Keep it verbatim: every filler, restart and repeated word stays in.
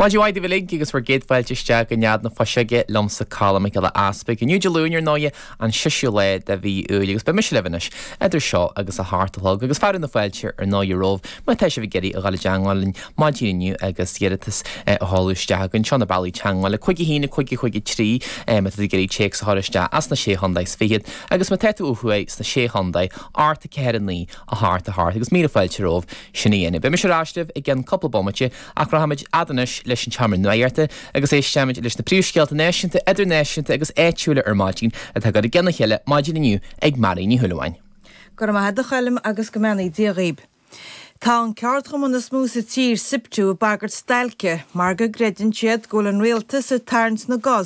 Maidin mhaith daoibh uilig agus bhur gcéad fáilte isteach go Nead na Fuiseoige liomsa Colm Mac Giolla Easpaig. Inniu Dé Luain ar ndóighe an seisiú lá de mhí Iúil agus beidh mise libh anois idir seo agus a hocht a chlog agus fearadh na fáilte ar ndóighe romhaibh má tá sibh ag iarraidh a dhul i dteagmháil linn maidin inniu agus iarratas a sheoladh isteach againn seo na bealaí teagmhála cúig a haon cúig cúig a trí má tá tú ag iarraidh téacs a chur isteach as na sé chontae is fichead agus má tá tú ó thuaidh sna sé chontae ocht a ceathair a naoi a hocht a hocht agus míle fáilte romhaibh sin a dhéanamh. Beidh mise ar ais libh i gceann cúpla bomaite ach rachaimid fhad anois leis an tseomra nuachta agus éistfimid leis na príomhscéalta náisiúnta, idirnáisiúnta agus áitiúla ar maidin atá curtha i gcionn a chéile maidin inniu ag Mary Ní Shúilleabháin. Go raibh maith agat a Choilm agus go mbeannaí Dia dhaoib. Tá an ceardchumann is mó sa tír SIPTU ag bagairt stailce mar go gcreideann siad go bhfuil an rialtas ag tarraingt na gcos